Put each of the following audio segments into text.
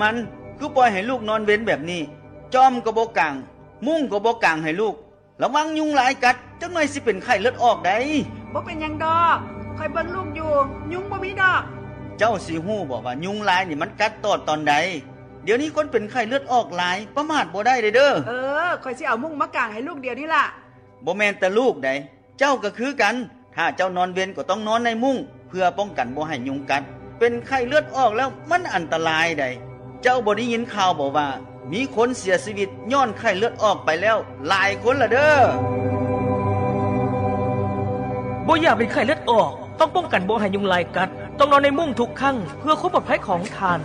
ມັນ ຄືປ່ອຍໃຫ້ລູກນອນເວັນແບບນີ້? ຈອມກໍບໍ່ກາງ, ມຸ້ງກໍບໍ່ກາງໃຫ້ລູກ. ລະວັງຍຸງລາຍກັດ, ຈັກໜ່ອຍຊິເປັນໄຂ້ເລືອດອອກໃດ໋. ບໍ່ເປັນຫຍັງດອກ, ຂ້ອຍເບິ່ງລູກຢູ່, ຍຸງບໍ່ມີດອກ. ເຈົ້າຊິຮູ້ບໍ່ວ່າຍຸງລາຍນີ້ມັນກັດຕອດຕອນໃດ? ດຽວນີ້ຄົນເປັນໄຂ້ເລືອດອອກຫຼາຍ, ປະໝາດບໍ່ໄດ້ເດີ້. ເອີ, ຂ້ອຍຊິເອົາມຸ້ງມາກາງໃຫ້ລູກດຽວນີ້ລະ. ບໍ່ແມ່ນແຕ່ລູກໃດ໋, ເຈົ້າກໍຄືກັນ. ຖ້າເຈົ້ານອນເວັນກໍຕ້ອງນອນໃນມຸ້ງ ເພື່ອປ້ອງກັນບໍ່ໃຫ້ຍຸງກັດ. ເປັນໄຂ້ເລືອດອອກແລ້ວມັນອັນຕະລາຍໃດ໋. ເຈົ້າບໍ່ໄດ້ຍິນຂ່າວບໍ່ວ່າ ມີຄົນເສຍຊີວິດຍ້ອນໄຂ້ເລືອດອອກໄປແລ້ວຫຼາຍຄົນລະເດີ້. ບໍ່ຢາກເປັນໄຂ້ເລືອດອອກ, ຕ້ອງປ້ອງກັນບໍ່ໃຫ້ຍຸງລາຍກັດ, ຕ້ອງນອນໃນມຸ້ງທຸກຄັ້ງ ເພື່ອຄວາມປອດໄພຂອງທ່ານ.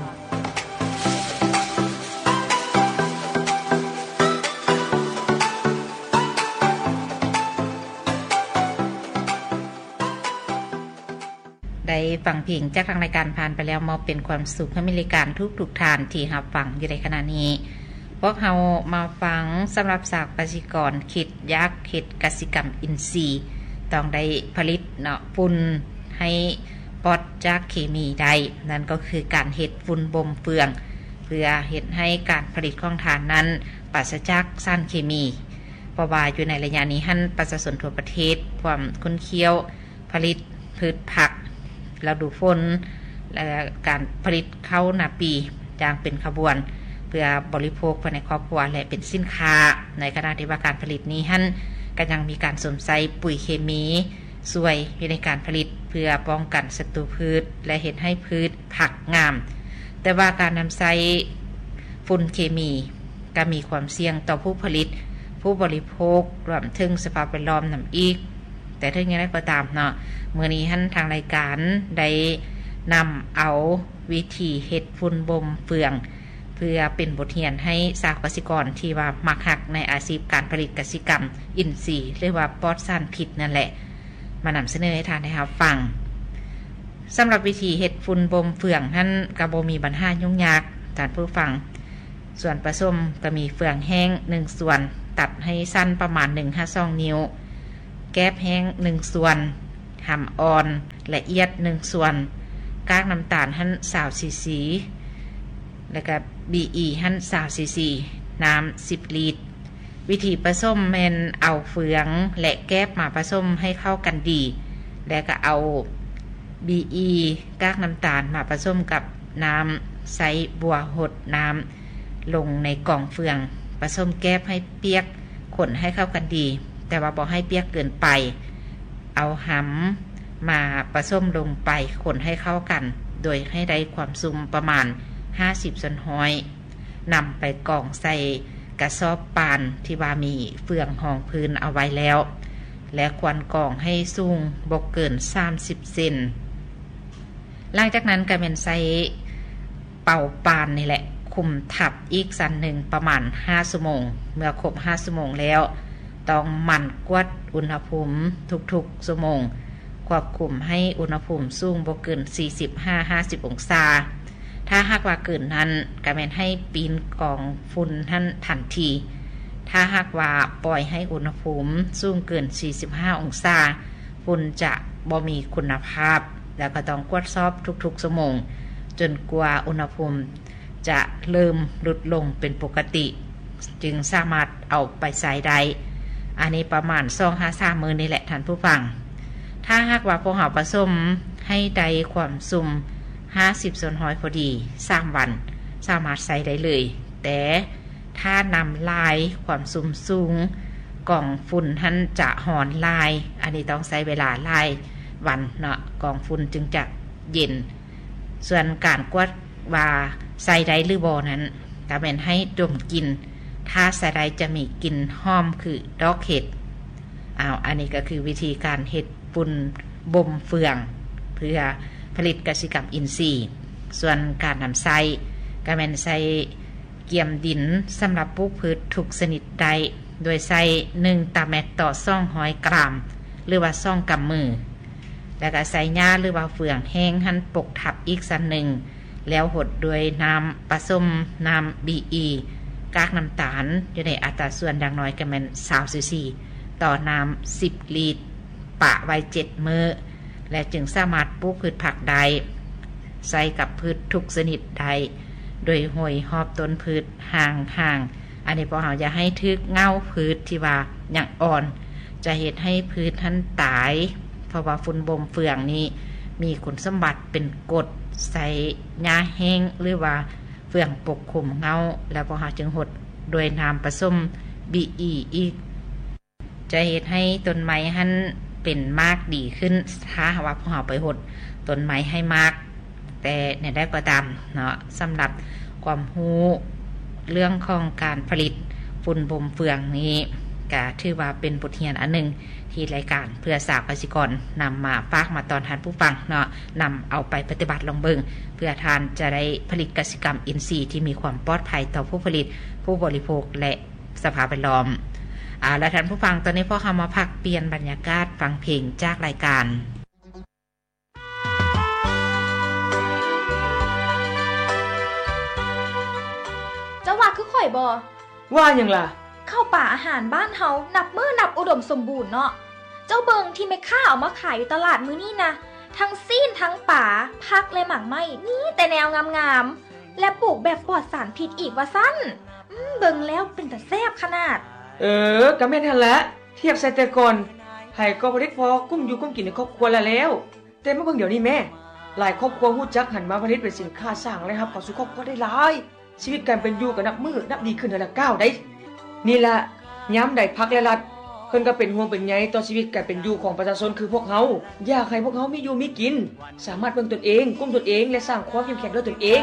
ໄດ້ຟັງເພງຈາກທາງລາຍການຜ່ານໄປແລ້ວ ມອບເປັນຄວາມສຸກໃຫ້ແມ່ນລາຍການທຸກໆທ່ານທີ່ຮັບຟັງຢູ່ໃນຂະນະນີ້. ພວກເຮົາມາຟັງສຳລັບຊາວກະສິກອນຄິດຢາກເຮັດກະສິກຳອິນຊີ ຕ້ອງໄດ້ຜະລິດເນາະ ຝຸ່ນໃຫ້ປອດຈາກເຄມີໄດ້, ນັ້ນກໍຄືການເຮັດຝຸ່ນບົ່ມເຟືອງ ເພື່ອເຮັດໃຫ້ການຜະລິດຂອງທ່ານນັ້ນປາສະຈາກສານເຄມີ. ເພາະວ່າຢູ່ໃນໄລຍະນີ້ຫັ້ນ ປະຊາຊົນທົ່ວປະເທດພວມຂຸ້ນຂ້ຽວ ຜະລິດພືດຜັກລະດູຝົນ ແລະ ການຜະລິດເຂົ້ານາປີຢ່າງເປັນຂະບວນ ເພື່ອບໍລິໂພກພາຍໃນຄອບຄົວ ແລະ ເປັນສິນຄ້າ, ໃນຂະນະທີ່ວ່າການຜະລິດນີ້ຫັ້ນ ກໍຍັງມີການສວມໃຊ້ປຸ໋ຍເຄມີຊ່ວຍຢູ່ໃນການຜະລິດ ເພື່ອປ້ອງກັນສັດຕູພືດ ແລະ ເຮັດໃຫ້ພືດຜັກງາມ. ແຕ່ວ່າການນຳໃຊ້ຝຸ່ນເຄມີ ກໍມີຄວາມສ່ຽງຕໍ່ຜູ້ຜະລິດ, ຜູ້ບໍລິໂພກ, ລວມເຖິງສະພາບແວດລ້ອມນຳອີກ. ແຕ່ເຖິງຢ່າງໃດກໍຕາມເນາະ, ມື້ນີ້ຫັ້ນທາງລາຍການໄດ້ນຳເອົາວິທີເຮັດຝຸ່ນບົ່ມເຟືອງ ເພື່ອເປັນບົດຮຽນໃຫ້ຊາວກະສິກອນທີ່ວ່າມັກຮັກໃນອາຊີບການຜະລິດກະສິກຳອິນຊີ ຫຼືວ່າປອດສານພິດນັ້ນແຫຼະ ມານຳສະເໜີໃຫ້ທ່ານໄດ້ຮັບຟັງ. ສຳລັບວິທີເຮັດຝຸ່ນບົ່ມເຟືອງຫັ້ນ ກໍບໍ່ມີບັນຫາຫຍຸ້ງຍາກທ່ານຜູ້ຟັງ. ສ່ວນປະສົມກໍມີເຟືອງແຫ້ງໜຶ່ງສ່ວນ ຕັດໃຫ້ສັ້ນປະມານໜຶ່ງຫາສອງນິ້ວ, ແກບແຫ້ງໜຶ່ງສ່ວນ, ຫຳອ່ອນລະອຽດໜຶ່ງສ່ວນ, ກາກນ້ຳຕານຫັ້ນຊາວຊີຊີ ແລະກະບີອີຫັ້ນຊາວຊີຊີ, ນ້ຳສິບລິດ. ວິທີປະສົມແມ່ນເອົາເຟືອງ ແລະ ແກບມາປະສົມໃຫ້ເຂົ້າກັນດີ ແລະກະເອົາບີອີ ກາກນ້ຳຕານມາປະສົມກັບນ້ຳ ໃຊ້ບົວຫົດນ້ຳລົງໃນກອງເຟືອງ, ປະສົມແກບໃຫ້ປຽກ, ຄົນໃຫ້ເຂົ້າກັນດີ ແຕ່ວ່າບໍ່ໃຫ້ປຽກເກີນໄປ. ເອົາຫຳມາປະສົມລົງໄປ, ຄົນໃຫ້ເຂົ້າກັນ ໂດຍໃຫ້ໄດ້ຄວາມຊຸ່ມປະມານຫ້າສິບສ່ວນຮ້ອຍ. ນຳໄປກອງໃສ່ກະສອບປານທີ່ວ່າມີເຟືອງຮອງພື້ນເອົາໄວ້ແລ້ວ ແລະ ຄວນກອງໃຫ້ສູງບໍ່ເກີນສາມສິບເຊັນ. ຫຼັງຈາກນັ້ນກໍແມ່ນໃຊ້ເປົາປານນີ້ແຫຼະ ຄຸມທັບອີກຊັ້ນໜຶ່ງປະມານຫ້າຊົ່ວໂມງ. ເມື່ອຄົບຫ້າຊົ່ວໂມງແລ້ວ ຕ້ອງໝັ່ນກວດອຸນຫະພູມທຸກໆຊົ່ວໂມງ, ຄວບຄຸມໃຫ້ອຸນຫະພູມສູງບໍ່ເກີນສີ່ສິບຫາຫ້າສິບອົງສາ. ຖ້າຫາກວ່າເກີນນັ້ນ ກໍແມ່ນໃຫ້ປີ້ນກອງຝຸ່ນຫັ້ນທັນທີ. ຖ້າຫາກວ່າປ່ອຍໃຫ້ອຸນຫະພູມສູງເກີນສີ່ສິບຫ້າອົງສາ, ຝຸ່ນຈະບໍ່ມີຄຸນນະພາບ ແລ້ວກໍຕ້ອງກວດສອບທຸກໆຊົ່ວໂມງ ຈົນກວ່າອຸນຫະພູມຈະເລີ່ມຫຼຸດລົງເປັນປົກກະຕິ ຈຶ່ງສາມາດເອົາໄປໃຊ້ໄດ້. ອັນນີ້ປະມານສອງຫາສາມມື້ນີ້ແຫຼະທ່ານຜູ້ຟັງ. ຖ້າຫາກວ່າພວກເຮົາປະສົມໃຫ້ໄດ້ຄວາມຊຸ່ມຫ້າສິບສ່ວນຮ້ອຍພໍດີ ສາມວັນ ສາມາດໃຊ້ໄດ້ເລີຍ. ແຕ່ຖ້ານ້ຳຫຼາຍ ຄວາມຊຸ່ມສູງ ກອງຝຸ່ນຫັ້ນຈະຮ້ອນຫຼາຍ, ອັນນີ້ຕ້ອງໃຊ້ເວລາຫຼາຍວັນເນາະ ກອງຝຸ່ນຈຶ່ງຈະເຢັນ. ສ່ວນການກວດວ່າໃຊ້ໄດ້ຫຼືບໍ່ນັ້ນ ກໍແມ່ນໃຫ້ດົມກິ່ນ, ຖ້າໃຊ້ໄດ້ຈະມີກິ່ນຫອມຄືດອກເຫັດ. ອ້າວ ອັນນີ້ກໍຄືວິທີການເຮັດຝຸ່ນບົ່ມເຟືອງ ເພື່ອຜະລິດກະສິກຳອິນຊີ. ສ່ວນການນຳໃຊ້ ກໍແມ່ນໃຊ້ກຽມດິນສຳລັບປູກພືດທຸກຊະນິດໄດ້ ໂດຍໃຊ້ໜຶ່ງຕາແມັດຕໍ່ສອງຮ້ອຍກຣາມ ຫຼືວ່າສອງກຳມື. ແລ້ວກໍໃຊ້ຫຍ້າ ຫຼືວ່າເຟືອງແຫ້ງຫັ້ນປົກທັບອີກຊັ້ນໜຶ່ງ ແລ້ວຫົດດ້ວຍນ້ຳປະສົມນ້ຳບີອີ ກາກນ້ຳຕານ ຢູ່ໃນອັດຕາສ່ວນຢ່າງໜ້ອຍກໍແມ່ນຊາວຊີຊີ ຕໍ່ນ້ຳສິບລິດ, ປະໄວ້ເຈັດມື້ ແລະ ຈຶ່ງສາມາດປູກພືດຜັກໄດ້, ໃຊ້ກັບພືດທຸກຊະນິດໄດ້, ໂດຍຫ້ອຍຮອບຕົ້ນພືດຫ່າງໆ. ອັນນີ້ພວກເຮົາຢ່າໃຫ້ຖືກເຫງົ້າພືດທີ່ວ່າຍັງອ່ອນ ຈະເຮັດໃຫ້ພືດຫັ້ນຕາຍ, ເພາະວ່າຝຸ່ນບົ່ມເຟືອງນີ້ມີຄຸນສົມບັດເປັນກົດ ໃຊ້ຫຍ້າແຫ້ງ ຫຼືວ່າເຟືອງປົກຄຸມເຫງົ້າ ແລ້ວພວກເຮົາຈຶ່ງຫົດດ້ວຍນ້ຳປະສົມບີອີອີກ. ຈະເຮັດໃຫ້ຕົ້ນໄມ້ຫັ້ນເປັນໝາກດີຂຶ້ນ ຖ້າຫາກວ່າພວກເຮົາໄປຫົດຕົ້ນໄມ້ໃຫ້ໝາກ. ແຕ່ແນວໃດກໍຕາມເນາະ, ສຳລັບຄວາມຮູ້ເລື່ອງຂອງການຜະລິດຝຸ່ນບົ່ມເຟືອງນີ້ ກະຖືວ່າເປັນບົດຮຽນອັນໜຶ່ງ ທີ່ລາຍການເພື່ອຊາວກະສິກອນນຳມາຝາກມາຕ້ອນທ່ານຜູ້ຟັງເນາະ, ນຳເອົາໄປປະຕິບັດລອງເບິ່ງ ເພື່ອທ່ານຈະໄດ້ຜະລິດກະສິກຳອິນຊີທີ່ມີຄວາມປອດໄພຕໍ່ຜູ້ຜະລິດ, ຜູ້ບໍລິໂພກ ແລະ ສະພາບແວດລ້ອມ. ເອົາລະທ່ານຜູ້ຟັງ, ຕອນນີ້ພວກເຮົາມາພັກປ່ຽນບັນຍາກາດຟັງເພງຈາກລາຍການ. ເຈົ້າວ່າຄືຂ້ອຍບໍ່? ວ່າຫຍັງລະ? ເຂົ້າປາອາຫານບ້ານເຮົານັບມື້ນັບອຸດົມສົມບູນເນາະ. ເຈົ້າເບິ່ງທີ່ແມ່ຄ້າເອົາມາຂາຍຢູ່ຕະຫຼາດມື້ນີ້ນະ, ທັງຊີ້ນ ທັງປາ, ຜັກ ແລະ ໝາກໄມ້, ມີແຕ່ແນວງາມໆ ແລະ ປູກແບບປອດສານພິດອີກວ່າຊັ້ນ. ອືມ, ເບິ່ງແລ້ວເປັນຕາແຊບຂະໜາດ. ເອີ, ກໍແມ່ນຫັ້ນລະ. ທຽບໃສ່ແຕ່ກ່ອນ, ໃຜກໍຜະລິດພໍກຸ້ມຢູ່ກຸ້ມກິນໃນຄອບຄົວລະແລ້ວ. ແຕ່ມາເບິ່ງດຽວນີ້ແມ້, ຫຼາຍຄອບຄົວຮູ້ຈັກຫັນມາຜະລິດເປັນສິນຄ້າ ສ້າງລາຍຮັບເຂົ້າສູ່ຄອບຄົວໄດ້ຫຼາຍ. ຊີວິດການເປັນຢູ່ກໍນັບມື້ນັບດີຂຶ້ນເທື່ອລະກ້າວໃດ໋. ນີ້ລະ, ຍາມໃດພັກ ແລະ ລັດ ເພິ່ນກໍເປັນຫ່ວງເປັນໃຍຕໍ່ຊີວິດການເປັນຢູ່ຂອງປະຊາຊົນຄືພວກເຮົາ, ຢາກໃຫ້ພວກເຮົາມີຢູ່ມີກິນ, ສາມາດເບິ່ງຕົນເອງ, ກຸ້ມຕົນເອງ ແລະ ສ້າງຄວາມເຂັ້ມແຂງດ້ວຍຕົນເອງ.